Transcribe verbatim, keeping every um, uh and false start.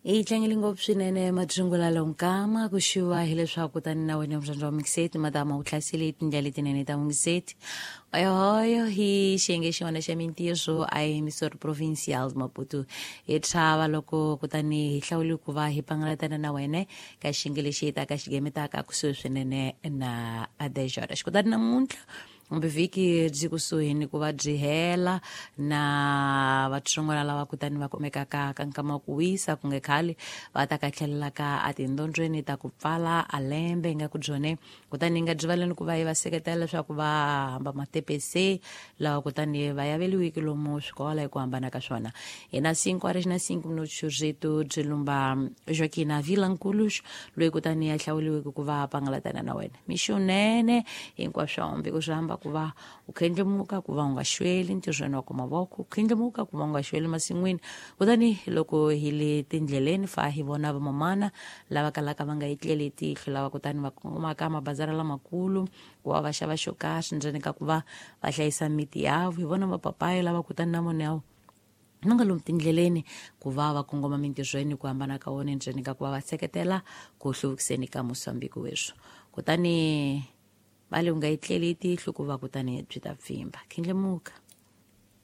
Hi tlangele ngopfu swinene madzungula lonkama ku xiwa hileswaku tani na wena mudyondzi wa Mungiseti madama u hlasele tindlela letinene ta Mungiseti oyohoyo hi xiyenge xin'wana xa mintirho a hi Missouri Provincial Maputo hi tshava loko kutani hi hlawule ku va hi pangalatana na wena ka xiyenge lexi hi taka xigemetaka kusuhi swinene na adejora xikutani namuntlha kumbe vhiki byi kusuhi ni ku va byi hela na vatsongwana lava kutani va kumekaka ka nkama wa ku wisa ku nge khale va ta ka tlhelela ka etindhondzweni ta ku pfala a lembe hi nga ku byone kutani hi nga byi valeni ku va hi va seketela leswaku va hamba matepese lawa kutani va yaveliwiki lomu swikola hi ku hambana ka swona hi na cinco horas na cinco minutos rito byi lumba Joaquina Vilanculos loyi kutani ya hlawuliwiki ku va pangalatana na wena mixunene hinkwaswo hambi ku swi hamba ku va u khendlemuka ku va u nga xweli ntirhweni wa ku mavoko u khendlemuka ku va u nga xweli masin'wini kutani loko hi le tindleleni fa hi vona vamamana lava kalaka va nga etleli tihlo lava kutani va kongomaka mabazara lamakulu ku va va xava xo karhi ndzeni ka ku va va hlayisa miti yavo hi vona vapapayi lava kutani na vona yavo va nga lomu tindleleni ku va va kongoma mintirhweni ku hambana ka wona ndzeni ka ku va va seketela ku hluvukiseni ka Mosambiki weswo kutani va le u nga etleli tihlo ku va kutani byi ta pfimba khendlemuka.